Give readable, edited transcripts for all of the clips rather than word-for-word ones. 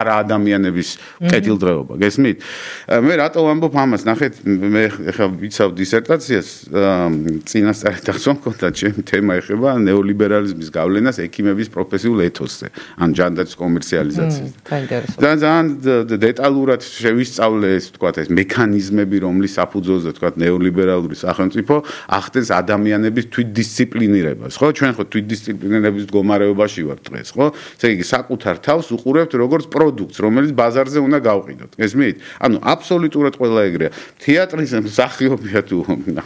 არა ადამიანების კეთილდღეობა, გესმით? მე რატო ვამბობ ამას? ნახეთ, მე ხა ვიცავ დისერტაციას, წინასწარ დახსოვ მქონდა ჩემი თემა ეხება ნეოლიბერალიზმის გავლენას ექიმების პროფესიულ ეთოსზე, ან ჯანდაცვის კომერციალიზაციაზე. ძალიან დეტალურად შევისწავლე ეს, თქვათ, ეს მექანიზმები, რომლის საფუძველზე, თქვათ, ნეოლიბერალური სახელმწიფო ახდენს ადამიანების თვითდისციპლინირებას, ხო? ჩვენ ხო თვითდისციპლინირების მდგომარეობაში ვართ დღეს, ხო? ესე იგი, საკუთარ თავს უყურებთ როგორც პროდუქტს, რომელიც ბაზარზე უნდა გავყიდოთ. გესმით? ანუ აბსოლუტურად ყველა ეგრეა. თეატრის მსახიობია თუ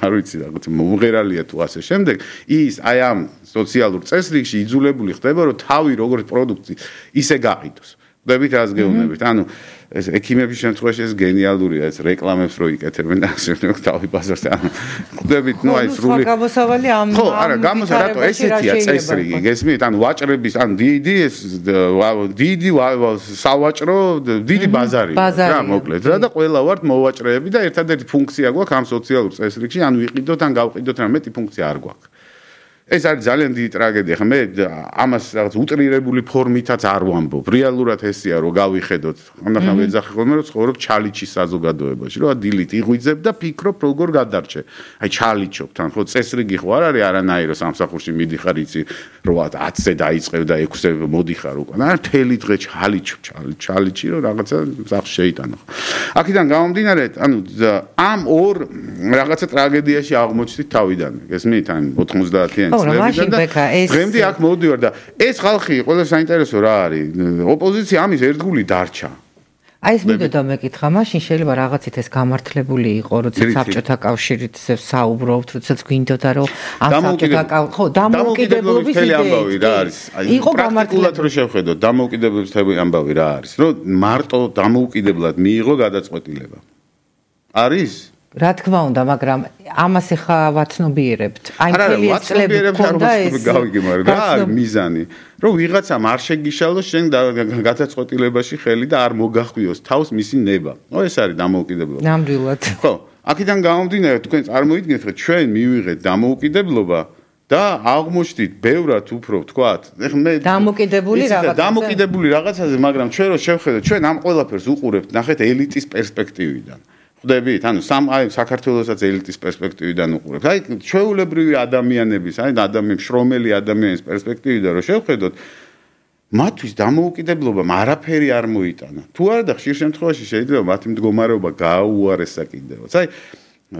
არ ვიცი რაღაც მომღერალია თუ ასე შემდეგ, ის აი ამ სოციალურ წესრიგში იძულებული ხდება, რომ თავი როგორც პროდუქტი ისე გაყიდოს. ხვდებით რას გეუბნებით? ანუ ეს ექიმების შემთხვევაში ეს გენიალურია, ეს რეკლამებს რო იკეთებენ და ასე შემდეგ თავი ბაზარზე. ანუ ხვდებით, ნუ აი სრული გამოსავალი ამ ხო, არა, გამოსა რატო ესეთია წესრიგი, გესმით? ანუ ვაჭრების, ან დიდი ეს დიდი სავაჭრო, დიდი ბაზარია, რა მოკლედ. რა და ყველა ვართ მოვაჭრეები და ერთადერთი ფუნქცია გვაქვს ამ სოციალურ წესრიგში, ან ვიყიდოთ, ან გავყიდოთ, რა მეტი ფუნქცია არ გვაქვს. ეს არის ძალიან დიდი ტრაგედია. ხა მე ამას რაღაც უტრირებული ფორმითაც არ ვამბობ. რეალურად ესეა, რომ გავიხედოთ. ამახან ვეძახი ხოლმე, რომ ცხოვრობ ჩალიჩის საზოგადოებაში, რომ დილით იღვიძებ და ფიქრობ, როგორ გადარჩე. აი ჩალიჩობ თან, ხო წესრიგი ხო არ არის არანაირო სამსახურში მიდიხარ იცი, რომ 10-ზე დაიწყებ და 6-ზე მოდიხარ უკვე. არა, მთელი დღე ჩალიჩობ, ჩალიჩი, რომ რაღაცა სახს შეიტანო. აქედან გამომდინარე, ანუ ამ ორ რაღაცა ტრაგედიაში აღმოჩნდით თავიდან. გესმით? ან 90-იან დღემდე აქ მოვდივარ და ეს ხალხი ყველა საინტერესო რა არის ოპოზიცია ამის ერთგული დარჩა აი ეს მინდოდა მეკითხა მაშინ შეიძლება რაღაცით ეს გამართლებული იყო როდესაც საბჭოთა კავშირით საუბრობთ როდესაც გვინდოდა რომ ამ საბჭოთა ხო დამოუკიდებლობის ამბავი რა არის იყო პრაქტიკულად რო შევხედოთ დამოუკიდებლობის ამბავი რა არის რომ მარტო დამოუკიდებლად მიიღო გადაწყვეტილება არის რა თქმა უნდა, მაგრამ ამას ახლა ვაცნობიერებთ. აი მთელი ეს წლები გქონდა ეს გავიგიმარ რა მიზანი, რომ ვიღაცამ არ შეგიშალოს შენ გადაწყვეტილებაში ხელი და არ მოგახვიოს თავს მისი ნება. ეს არის დამოუკიდებლობა. ნამდვილად. ხო, აქედან გამომდინარე, თქვენ წარმოიდგინეთ, რომ ჩვენ მივიღეთ დამოუკიდებლობა და აღმოჩნდით ბევრად უფრო, თქვათ, ეხლა მე დამოუკიდებული რაღაცაზე, მაგრამ ჩვენ რო შევხედოთ, ჩვენ ამ ყველაფერს უყურებთ, ნახეთ ელიტის პერსპექტივიდან. ხვდებით, ანუ საქართველოსაც ელიტის პერსპექტივიდან უყურებთ. აი, ჩვეულებრივი ადამიანების, აი, შრომელი ადამიანის პერსპექტივიდან რო შევხედოთ, მათთვის დამოუკიდებლობამ არაფერი არ მოიტანა. თუ არა და ხშირ შემთხვევაში შეიძლება მათი მდგომარეობა გააუარესა კიდევაც. აი,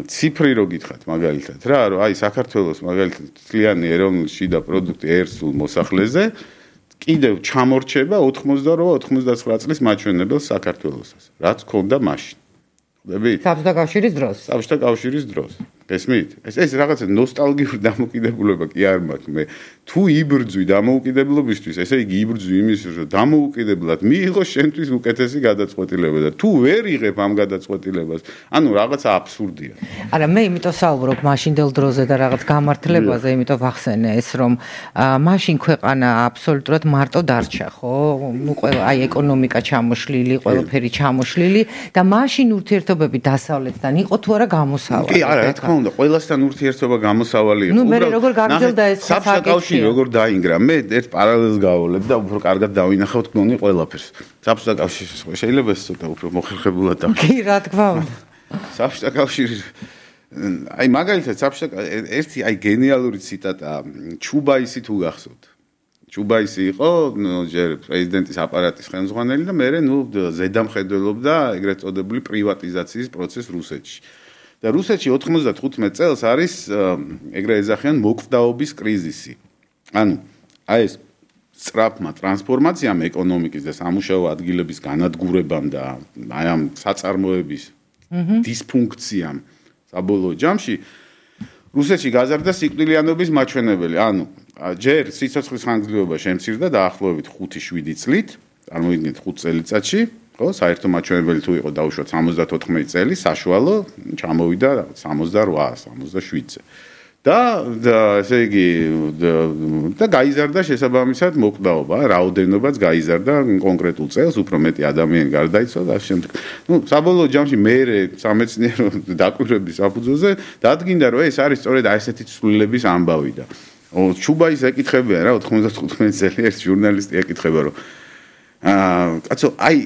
ციფრი რო გითხათ მაგალითად, რა, რომ აი საქართველოს მაგალითად თლიანი ეროვნული შიდა პროდუქტი ერთ-სულ მოსახლეზე კიდევ ჩამორჩება 88-99 წლის მაჩვენებელს საქართველოსაც, რაც ქონდა მაშინ. საბჭოთა კავშირის დროს. გესმით? ეს რაღაცა ნოსტალგიური დამოუკიდებლობა კი არ მაქვს მე. თუ იბრძვი დამოუკიდებლობისთვის, ესე იგი იბრძვი იმისთვის, რომ დამოუკიდებლად მიიღო შენთვის უკეთესი გადაწყვეტილება და თუ ვერ იღებ ამ გადაწყვეტილებას, ანუ რაღაცა აბსურდია. არა, მე იმიტომ საუბრობ მაშინდელ დროზე და რაღაც გამართლებაზე, იმიტომ ვახსენე ეს, რომ მაშინ ქვეყანა აბსოლუტურად მარტო დარჩა, ხო? ყველა აი ეკონომიკა ჩამოშლილი, ყველაფერი ჩამოშლილი და მაშინ ურთიერთობები დასავლეთთან იყო თუ არა გამოსავალი. კი, არა, რა თქმა უნდა, ყველასთან ურთიერთობა გამოსავალი იყო. ნუ მე როგორ გაგრძელდა ეს საკითხი როგორ დაინგრა მე ერთ პარალელს გავავლებ და უფრო კარგად დავინახავთ გონი ყველაფერს საბჭოთა კავშირის შეიძლება ეს ცოტა უფრო მოხერხებულად და კი რა თქმა უნდა საბჭოთა კავშირის აი მაგალითად საბჭოთა ერთი აი გენიალური ციტატა ჩუბაისი თუ გახსოვთ ჩუბაისი იყო ჯერ პრეზიდენტის აპარატის ხელმძღვანელი და მე ზედამხედველობდა ეგრეთ წოდებული პრივატიზაციის პროცესს რუსეთში და რუსეთში 95 წელს არის ეგრე ეძახიან მოკვდაობის კრიზისი. ანუ აი ეს სწრაფმა ტრანსფორმაციამ ეკონომიკის და სამუშაო ადგილების განადგურებამ და აი ამ საწარმოების დისფუნქციამ საბოლოო ჯამში რუსეთში გაზარდა სიკვდილიანობის მაჩვენებელი. ანუ ჯერ სიცოცხლის ხანგრძლივობა შემცირდა დაახლოებით 5-7 წლით, წარმოიდგინეთ 5 წელიწადში, ხო, საერთო მაჩვენებელი თუ იყო დაუშვათ 74 წელი, საშუალო ჩამოვიდა 68-67-ზე. და ესე იგი და გაიზარდა შესაბამისად მოკვდაობა, რაოდენობაც გაიზარდა კონკრეტულ წელს, უფრო მეტი ადამიანი გარდაიცვალა და შემდეგ. ნუ საბოლოო ჯამში მე სამეცნიერო დაკვირვების საფუძველზე დადგინდა, რომ ეს არის სწორედ აი ესეთი ცვლილების ამბავი და ჩუბაის ეკითხებიან რა 95 წელი ერთ ჟურნალისტი ეკითხება, რომ კაცო, აი